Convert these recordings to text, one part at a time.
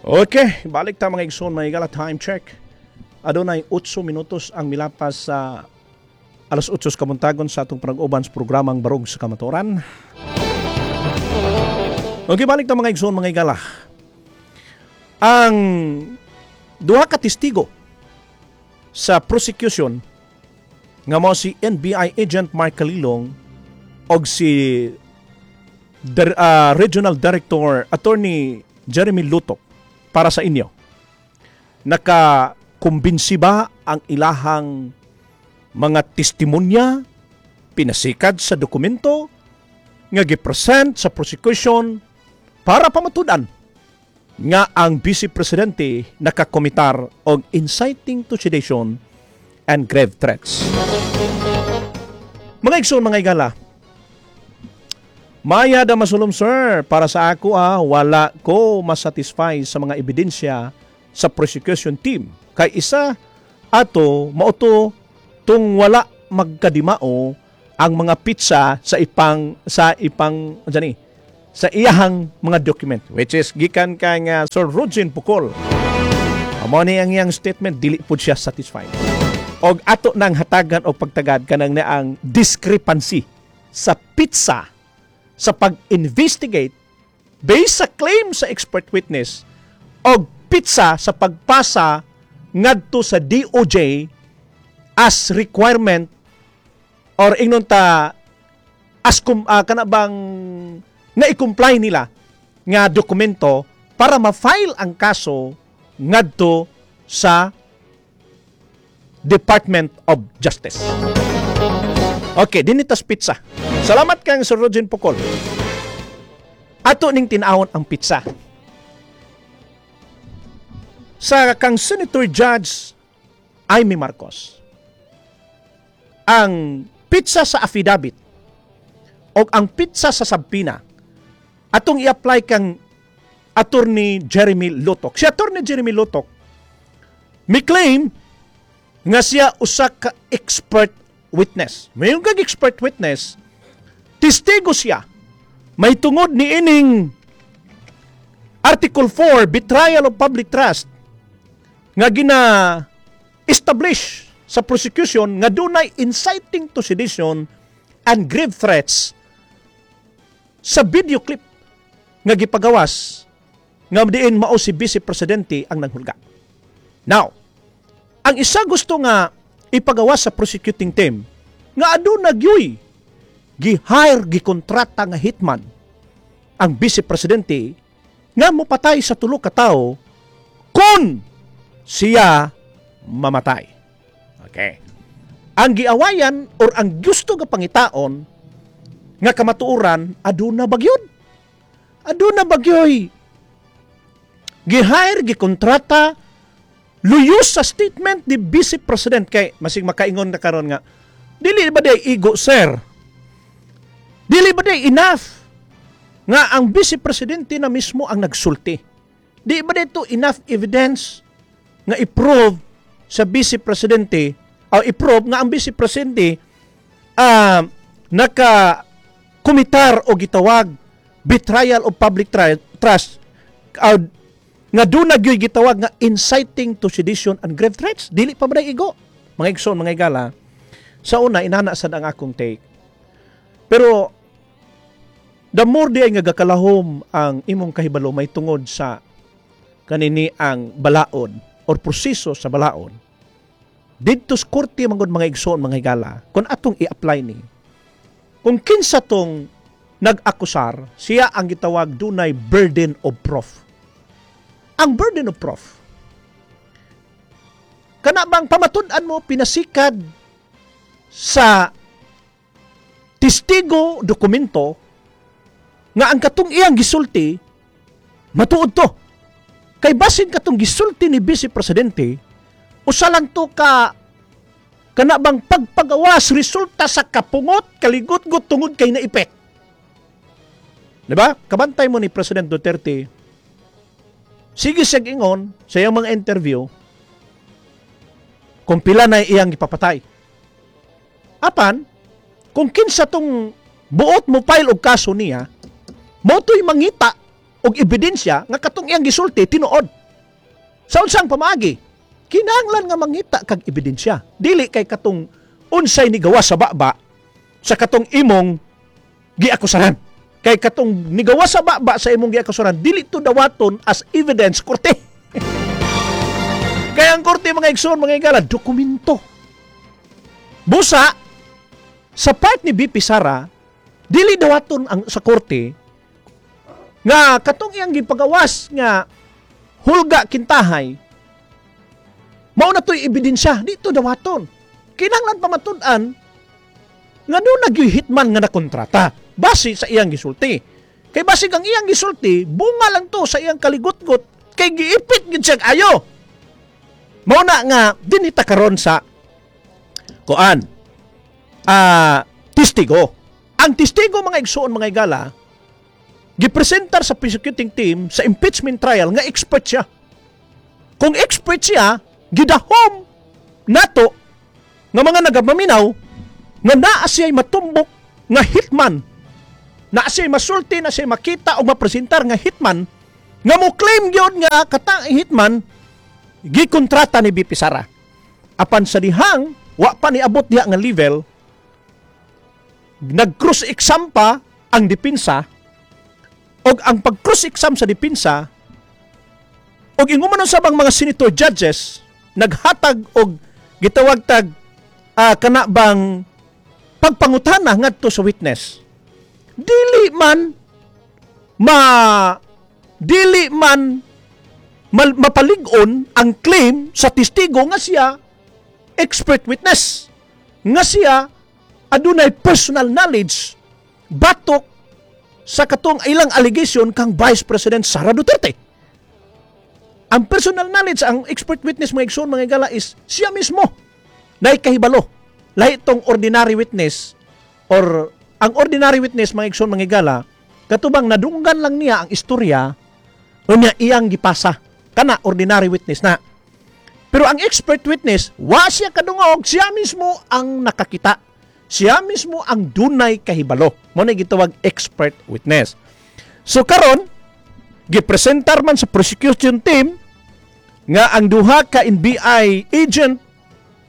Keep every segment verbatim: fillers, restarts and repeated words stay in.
Okay, balik ta, mga igsoon, mga higala, time check. Adunay otso minutos ang milapas sa alas otso sa kabuntagon sa atong panag-uban sa programang Barog sa Kamatuoran. Okay, balik ta, mga igsoon, mga higala. Ang duha ka testigo sa prosecution nga mao si N B I Agent Mark Kalilong og si Dir- ah, Regional Director Attorney Jeremy Lutok, para sa inyo, nakakumbinsi ba ang ilahang mga testimonya pinasikad sa dokumento nga gipresent sa prosecution para pamatud-an nga ang Vice Presidente nakakomitar og inciting to sedition and grave threats? Mga igsoon, mga higala, Maya da masulom, sir, para sa ako ah, wala ko masatisfy sa mga ebidensya sa prosecution team. Kay isa ato mao to tung wala magkadimao ang mga petsa sa ipang sa ipang ano ni sa iyahang mga document, which is gikan kay nga Sir Rogin Pukol. Amo ni ang iyang statement, dili pud siya satisfied. Og ato nang hatagan og pagtagad kanang naang discrepancy sa petsa sa pag-investigate based sa claim sa expert witness og petsa sa pagpasa ngadto sa D O J as requirement or ingnon ta as kum, ah, kana bang na i-comply nila nga dokumento para ma-file ang kaso ngadto sa Department of Justice. Okay, dinhi ta's petsa. Salamat kang Sir Rogin Pukol. Ato ning tin-awon ang petsa. Sa kang Senator Judge Imee Marcos, ang petsa sa affidavit o ang petsa sa subpoena atong i-apply kang Attorney Jeremy Lotoc. Si Attorney Jeremy Lotoc mi claim nga siya usa ka expert witness. Mayon kag expert witness, testigo siya. May tungod ni ining Article four, betrayal of public trust, nga gina establish sa prosecution nga dunay inciting to sedition and grave threats sa video clip nga gipagawas nga diin mao si Vice Presidente ang nanghulga. Now, ang isa gusto nga ipagawas sa prosecuting team nga aduna gyuy gi-hire, gikontrata nga hitman ang Vice Presidente nga mopatay sa tulo ka tawo kung siya mamatay. Okay. Ang giawayan or ang gusto nga pangitaon nga kamatuoran, aduna ba gyud? Aduna ba gyoy gi-hire, gikontrata luyos sa statement ni Vice President? Kay masig makaingon na karon nga dili ba day igo, sir? Dili ba day enough nga ang Vice Presidente na mismo ang nagsulti? Di ba dito enough evidence nga i-prove sa Vice Presidente o i-prove nga ang Vice Presidente uh, naka kumitar o gitawag betrayal of public tri- trust uh, nga doon na gyud gitawag nga inciting to sedition and grave threats? Dili pa ba na igo? Mga igsoon, mga higala, sa una inana sad ang akong take, pero the more di ay nga gakalahom ang imong kahibalo may tungod sa kanini ang balaod or proseso sa balaod didto sa korte manggod, mga igsoon, mga higala, kung atong i-apply ni kung kinsa tong nag-akusar, siya ang gitawag dunay burden of proof. Ang burden of proof, kana bang pamatud-an mo pinasikad sa testigo, dokumento nga ang katong iyang gisulti matuod to. Kay basin katong gisulti ni Vice Presidente, usa lang to ka kana bang pagpagawas resulta sa kapungot, kaligutgot tungod kay naipit. Di ba? Kabantay mo ni President Duterte, sige siya ingon sa iyang mga interview kung pila na iyang ipapatay. Apan, kung kinsa tong buot mo file og kaso niya, mao to'y mangita. og ebidensya nga katong iyang gisulti tinuod. Sa unsang pamaagi? Kinahanglan nga mangita kag ebidensya. Dili kay katong unsay nigawas sa baba sa katong imong giakusahan. Kay katong nigawas sa baba sa imong giakusahan, dili to dawaton as evidence korte. Kaya ang korte, mga igsoon, mga igala, dokumento. Busa, sa part ni V P Sara, dili dawaton ang sa korte nga katong iyang gipagawas nga hulga kintahay mao na to'y ebidensya. Di to dawaton. Kinahanglan pamatud-an nga duna gyuy hitman nga nakontrata base sa iyang gisulti. Kay basig ang iyang gisulti bunga lang to sa iyang kaligutgot kay giipit gid siya ayo. Mao na nga dinita karon sa kuan, ah, testigo. Ang testigo, mga igsoon, mga igala, gipresentar sa prosecuting team sa impeachment trial nga expert siya. Kung expert siya, gidahom nato nga mga nagamaminaw nga naa siya'y matumbok nga hitman. Naa siya'y masulti, na siya'y makita o mapresentar nga hitman nga mo claim gyud nga katang hitman gikontrata ni V P Sara. Apan sa dihang wa pa niabot diha nga level, nag-cross exam pa ang depensa, og ang pag-cross exam sa depensa og ingon man sa bang mga senator judges naghatag og gitawag tag ah, kana bang pagpangutana ngadto sa witness, dili man ma dili man mal, mapalig-on ang claim sa testigo nga siya expert witness, nga siya adunay personal knowledge batok sa katong ilang allegation kang Vice President Sara Duterte. Ang personal knowledge, ang expert witness, mga igsoon, mga igala, is siya mismo na kahibalo. Lahi tong ordinary witness or ang ordinary witness, mga igsoon, mga igala, katubang nadunggan lang niya ang istorya unya iyang gipasa. Kana ordinary witness na. Pero ang expert witness, wa siya kadungog, siya mismo ang nakakita. Siya mismo ang dunay kahibalo. Mao na gitawag expert witness. So karon, gipresentar man sa prosecution team nga ang duha ka N B I agent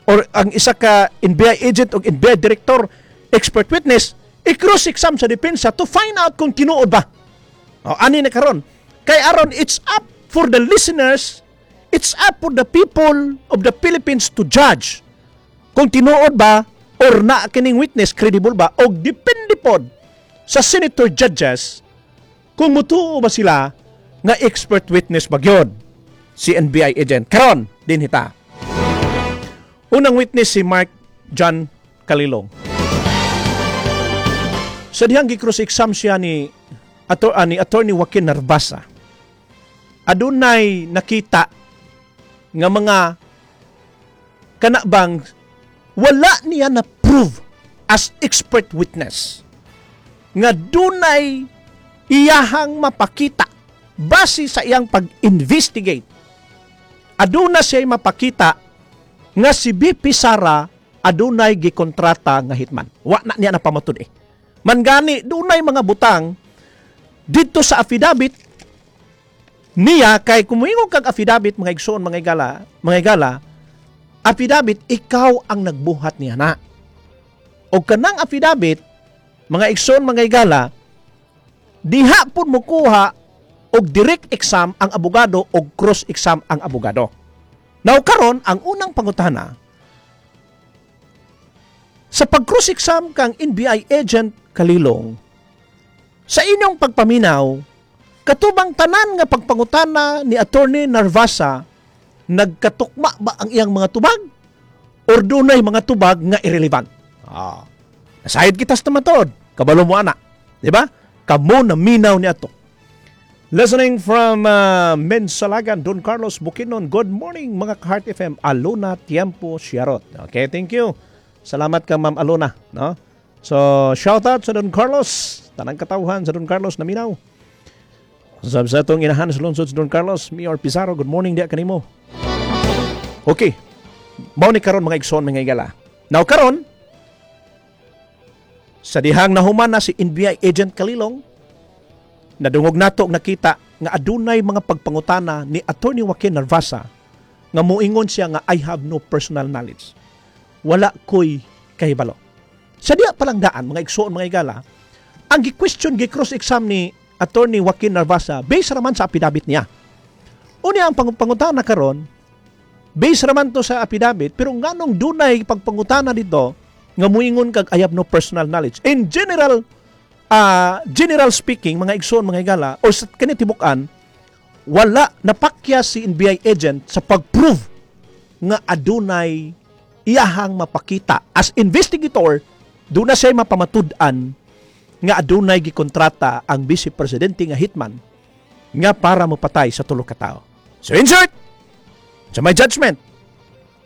or ang isa ka N B I agent o N B I director expert witness, i-cross exam sa depensa to find out kung tinuod ba. O, ani na karon. Kay aron it's up for the listeners, it's up for the people of the Philippines to judge kung tinuod ba or na kining witness credible ba, o depende pod sa senator judges kung mutuo ba sila nga expert witness ba gyud si N B I agent. Karon din hita. Unang witness, si Mark John Kalilong. Sa dihang gi-cross exam siya ni ato, ah, ni Attorney Joaquin Narvasa, adunay nakita nga mga kana bang wala niya na prove as expert witness nga dunay iyahang mapakita base sa iyang pag-investigate. Aduna siya mapakita nga si V P Sara adunay gikontrata nga hitman. Wa na niya napamatud eh. Man gani dunay mga butang didto sa affidavit niya, kay kung moingon kag affidavit, mga igsoon, mga igala, mga igala, affidavit, ikaw ang nagbuhat niya na. O kanang affidavit, mga igsoon, mga igala, diha pud mo kuha og direct exam ang abogado o cross exam ang abogado. Now karon, ang unang pangutana sa pag-cross exam kang N B I agent Kalilong, sa inyong pagpaminaw, katubang tanan nga pagpangutana ni Attorney Narvasa, nagkatukma ba ang iyang mga tubag or dunay mga tubag nga irrelevant? Ah. Nasayod kita sa tumatod. Kabalo mo ana. Di ba? Kamo na minaw ni ato. Listening from uh, Mensalagan, Don Carlos Bukinon. Good morning, mga ka-Heart F M. Alona Tiempo Sharot. Okay, thank you. Salamat ka, Ma'am Alona. No? So, shout out sa Don Carlos. Tanang katawhan sa Don Carlos naminaw. Sab sa atong inahan sa lungsod sa Don Carlos, Mayor Pizarro, good morning diya kanimo. Okay. Mao ni karon, mga igsoon, mga igala. Now karon, sa dihang nahuman na si N B I agent Kalilong, Nadungog nato og nakita nga adunay mga pagpangutana ni Attorney Joaquin Narvasa nga moingon siya nga I have no personal knowledge. Wala ko'y kahibalo. Sa diya palang daan, mga igsuon mga igala, ang gi-question, gi-cross-exam ni Attorney Joaquin Narvasa, based raman sa affidavit niya. Unya ang pangutana karon, based raman to sa affidavit, pero nganong dunay pagpangutana dito nga muingon kag I have no personal knowledge. In general, uh, general speaking, mga igsuon mga higala, or sa kani tibukan, wala napakya si NBI agent sa pag-prove nga adunay iyahang mapakita as investigator duna siya mapamatud-an nga adunay gikontrata ang vice presidente nga hitman nga para mopatay sa tulo ka tawo. So in short, sa my judgment,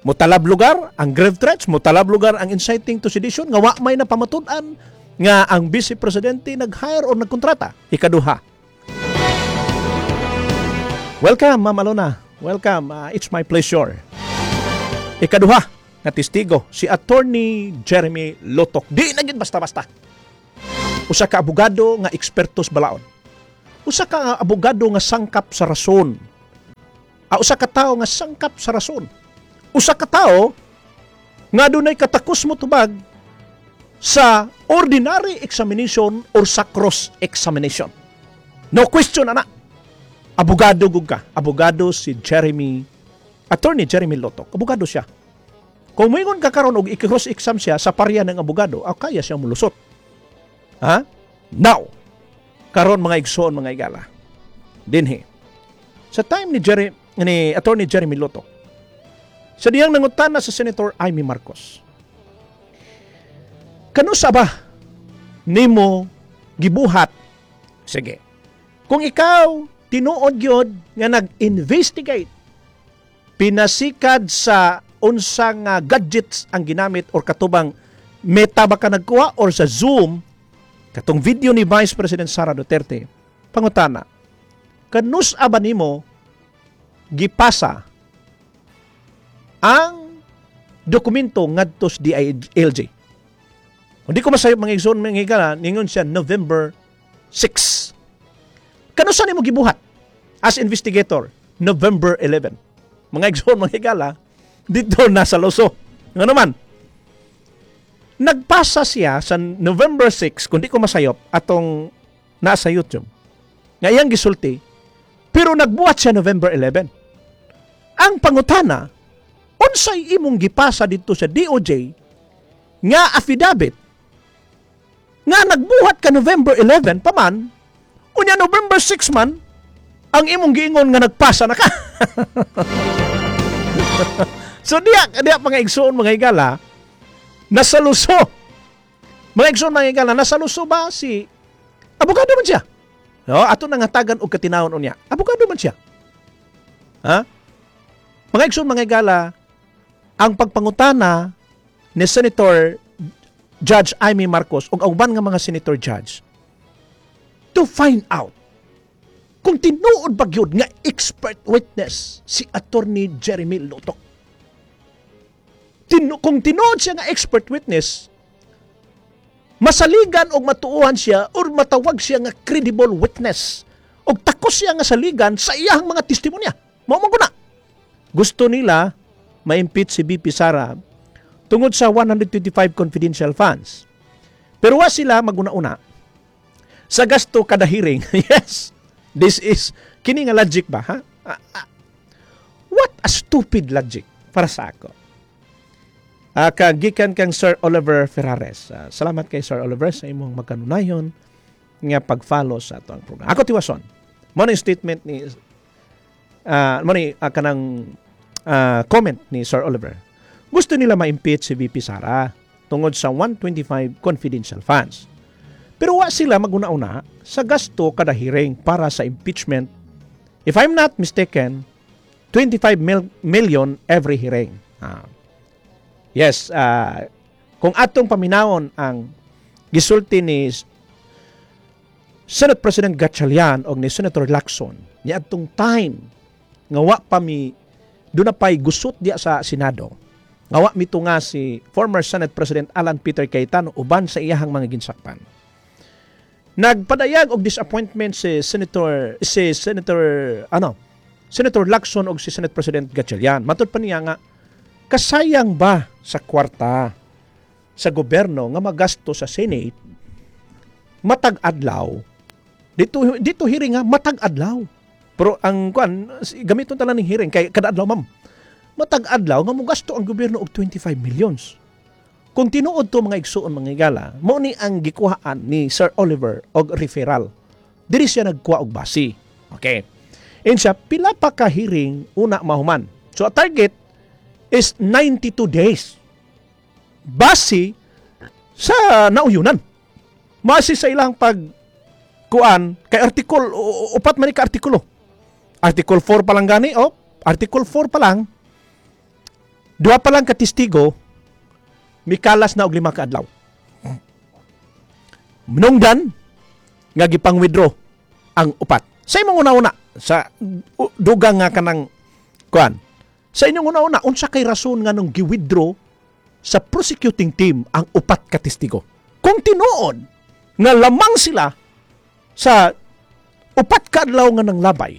mutalab lugar ang grave threats, mutalab lugar ang inciting to sedition nga wa may napamatud-an nga ang vice presidente nag-hire o nagkontrata. Ikaduha. Welcome, Ma'am Alona. Welcome. Uh, it's my pleasure. Ikaduha nga testigo si Attorney Jeremy Lotok. Di na gyud basta-basta. Usa ka abogado nga eksperto sa balaod. Usa ka abogado nga sangkap sa rason. Ah, usa ka tawo nga sangkap sa rason. Usa ka tawo nga dunay katakos mo tubag sa ordinary examination or sa cross examination. No question ana. Abogado gud ka. Abogado si Jeremy Attorney Jeremy Lotok. Abogado siya. Kung moingon ka karon og i-cross exam siya sa parya ng abogado, ah, kaya siya mulusot. Ha? Now, karon mga igsoon mga igala. Dinhi. Sa time ni Jerry ni Attorney Jeremy Lotok, sa diyang nangutana sa Senator Imee Marcos. Kanusa ba nimo gibuhat? Sige. Kung ikaw tinuod gyud nga nag-investigate pinasikad sa unsa nga gadgets ang ginamit or katubang meta ba ka nagkuha or sa Zoom katong video ni Vice President Sara Duterte pangutana kanus-a ba nimo gipasa ang dokumento ngadto sa DILG Hindi ko masayop mga igsoon mga higala, ningon siya November six. Kanusa nimo gibuhat as investigator? November eleven. Mga igsoon mga higala, dito nasa luso. Nga naman, nagpasa siya sa November six, kung di ko masayop, atong nasa YouTube. Nga iyang gisulti, pero nagbuhat siya November eleven. Ang pangutana, unsay imong gipasa dito sa DOJ nga affidavit nga nagbuhat ka November eleven pa man, unya November six man, ang imong giingon nga nagpasa na ka. so diya, diya mga igsoon mga higala, nasa luso. Mga igsoon mga higala, nasa luso ba si abogado man siya. No, ato nang hatagan og katinawon unya. Abogado man siya. Ha? Mga igsoon mga higala, ang pagpangutana ni Senator Judge Imee Marcos ug ang uban nga mga senator judge to find out kung tinuod ba gyud nga expert witness si Attorney Jeremy Lotok. Tinu kung tinuod siya nga expert witness, masaligan og matuohan siya or matawag siya nga credible witness og takos siya nga saligan sa iyahang mga testimonya. Mao man na. Gusto nila ma-impeach si VP Sara tungod sa one hundred twenty-five confidential funds. Pero wa sila maguna-una sa gasto kada hearing. yes. This is kini nga logic ba ha? Ah, ah, what a stupid logic para sa ako. Uh, gikan kang Sir Oliver Ferrares. Ah, salamat kay Sir Oliver sa imong magkanunayon nga pag-follow sa ato ang program. Ako tiwason. Mo ni statement ni uh, mo ni ah, kanang ah, comment ni Sir Oliver. Gusto nila ma-impeach si VP Sara tungod sa one hundred twenty-five confidential funds. Pero wa sila maguna-una sa gasto kada hearing para sa impeachment. If I'm not mistaken, twenty-five mil- million every hearing. Ah. Yes, ah, kung atong paminawon ang gisulti ni Senate President Gatchalian o ni Senator Lacson niadtong time nga wa pa mi duna pay gusot diya sa Senado nga wa mito nga si former Senate President Alan Peter Cayetano uban sa iyahang mga ginsakpan. Nagpadayag og disappointment si Senator si Senator ano Senator Lacson og si Senate President Gatchalian. Matud pa niya nga kasayang ba sa kwarta sa gobyerno nga magasto sa Senate matag adlaw dito dito hearing nga matag adlaw pero ang kuan gamiton ta lang ning hearing kay kada adlaw ma'am matag adlaw nga mogasto ang gobyerno og twenty-five millions. Kung tinuod to, mga igsuon, mga higala, mao ni ang gikuhaan ni Sir Oliver og referral. Diri siya nagkuha og base. Okay. Insa pila pa ka hearing una mahuman. So a target is ninety-two days. Base sa nauyunan. Base sa ilang pag kuan kay article upat man ni ka artikulo. Article four pa lang gani, oh, article four pa lang, duha pa lang ka testigo, mikalas na og lima ka adlaw. Manungdan nga gipang-withdraw ang upat. Sa imong una-una sa dugang nga kanang kuan. Sa inyong una-una, unsa kay rason nga nung gi-withdraw sa prosecuting team ang upat ka testigo? Kung tinuod nga lamang sila sa upat ka adlaw nga nang labay,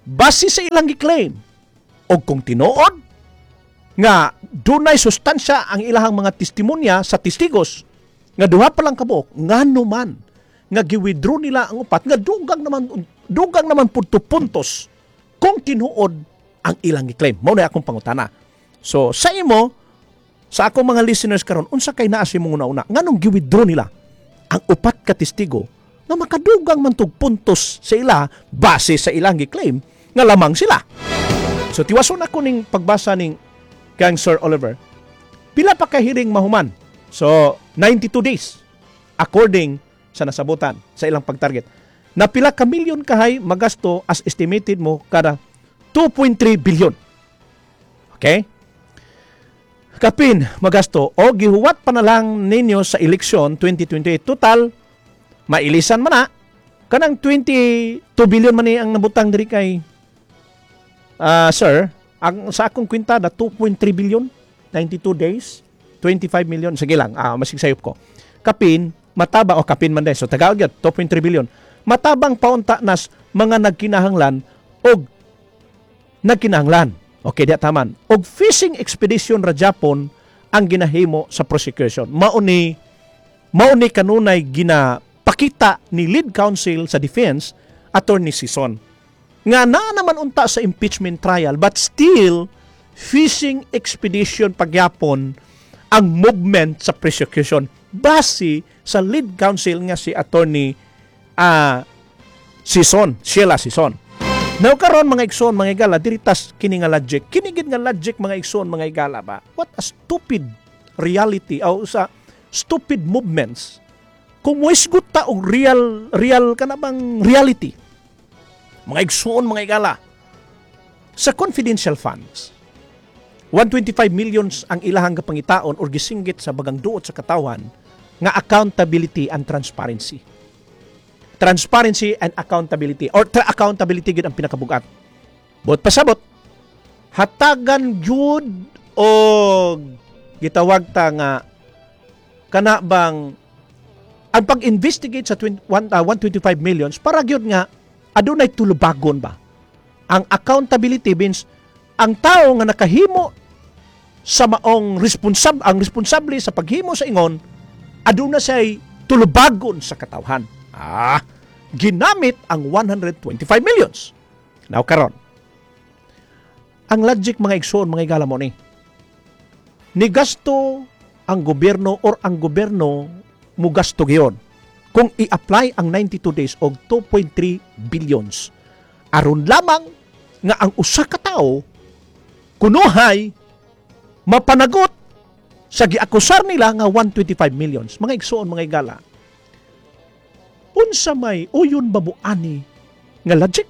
base sa ilang gi-claim, og kung tinuod nga dunay sustansya ang ilahang mga testimonya sa testigos nga duha pa lang kabuok, ngano man nga gi-withdraw nila ang upat nga dugang naman dugang naman pud to puntos kung tinuod ang ilang gi-claim? Mao na akong pangutana. So sa imo, sa akong mga listeners karon, unsa kay naa sa imong una-una, nganong gi-withdraw nila ang upat ka testigo nga makadugang man tug puntos sa ila base sa ilang gi-claim nga lamang sila? So tiwason ako ning pagbasa ning kang Sir Oliver. Pila pa ka hearing mahuman? So ninety-two days according sa nasabutan sa ilang pagtarget. Na pila ka milyon kahay magasto as estimated mo kada two point three billion. Okay? Kapin magasto o gihuwat pa na lang ninyo sa eleksyon twenty twenty-eight, total mailisan man na kanang twenty-two billion man ni ang nabutang diri kay ah, sir. Ang sa akong kwenta na two point three billion, ninety-two days, twenty-five million, sige lang, ah, masig sayop ko. Kapin mataba o kapin man day, so Tagalog yun, two point three billion, matabang paunta nas mga nagkinahanglan og nagkinahanglan. Okay, diya taman og fishing expedition ra japon ang ginahimo sa prosecution. Mao ni mao ni kanunay ginapakita ni lead counsel sa defense, Attorney Sison, nga naa naman unta sa impeachment trial but still fishing expedition pagyapon ang movement sa prosecution base sa lead counsel nga si Attorney ah Sison, Sheila Sison. Now karon, mga igsoon, mga igala, diri tas kini nga logic. Kini gid nga logic, mga igsoon, mga igala ba? What a stupid reality o sa stupid movements. Kung moisgot ta og real real kana bang reality. Mga igsoon, mga igala, sa confidential funds, one hundred twenty-five millions ang ilahang gapangitaon or gisinggit sa bagang duot sa katawan nga accountability and transparency. Transparency and accountability or tra- accountability gid ang pinakabugat. Buot pasabot, hatagan gyud og gitawag ta nga kana bang ang pag-investigate sa twenty, one, uh, one hundred twenty-five millions para gyud nga adunay tulubagon ba. Ang accountability means ang tao nga nakahimo sa maong responsab ang responsable sa paghimo sa ingon, aduna siya'y tulubagon sa katawhan. Ah, ginamit ang one hundred twenty-five millions. Now karon, ang logic, mga igsoon, mga igala, mo ni nigasto ang gobyerno or ang gobyerno mugasto giyon kung i-apply ang ninety-two days og two point three billions aron lamang nga ang usa ka tawo kunuhay mapanagot sa giakusar nila nga one hundred twenty-five millions. Mga igsoon, mga igala, unsa may uyon ba mo ani nga logic?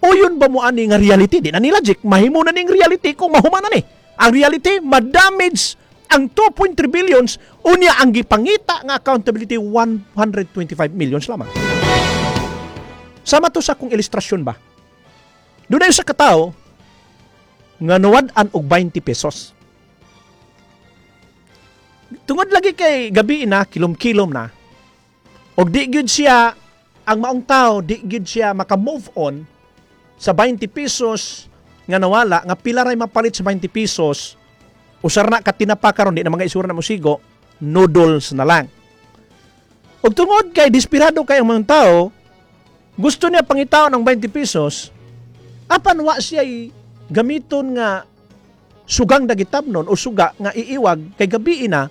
Uyon ba mo ani nga reality? Di na ni logic, mahimo na ning reality kung mahuman na ni. Ang reality, ma-damage ang two point three billions, unya ang gipangita nga accountability one hundred twenty-five millions lamang. Sama to sa akong ilustrasyon ba? Doon sa katao nga nawad-an og twenty pesos. Tungod lagi kay gabi na, kilom-kilom na, Og di gyud siya, ang maong tao, di gyud siya maka-move on sa twenty pesos nga nawala, nga pila ray mapalit sa twenty pesos, usar na ka tinapa karon, di na mga isura na musigo, noodles na lang. Og tungod kay desperado kay ang mga tao, gusto niya pangitaon ng twenty pesos, apan wa siya gamiton nga sugang dagitabnon o suga nga iiwag kay gabi na.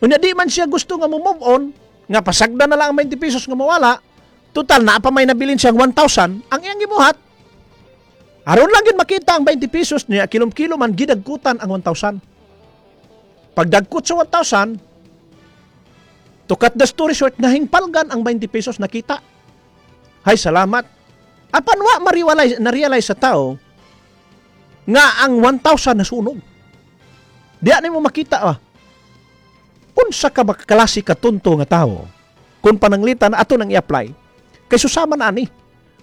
Unya di man siya gusto nga mo move on nga pasagda na lang ang twenty pesos nga mawala, total naa pa may nabilin siyang one thousand. Ang iyang gibuhat, aron lang gyud makita ang twenty pesos niya, kilom-kilo man, gidagkutan ang one thousand. Pagdagkot sa one thousand, to cut the story short, nahingpalgan ang twenty pesos, nakita. Hay, salamat. Apan wa mariwalay na-realize sa tao nga ang one thousand nasunog. Diya nimo makita ah. Unsa ka ba klase katunto nga tao kung pananglitan ato nang i-apply kay susama na ani?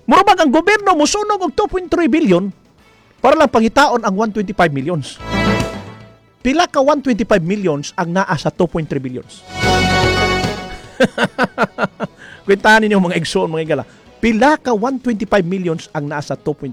Mura bag ang gobyerno musunog og two point three billion para lang pangitaon ang one hundred twenty-five millions. Pila ka one hundred twenty-five millions ang naa sa two point three billions? Kwentahan ninyo, mga igsoon, mga igala. Pila ka one hundred twenty-five millions ang naa sa two point three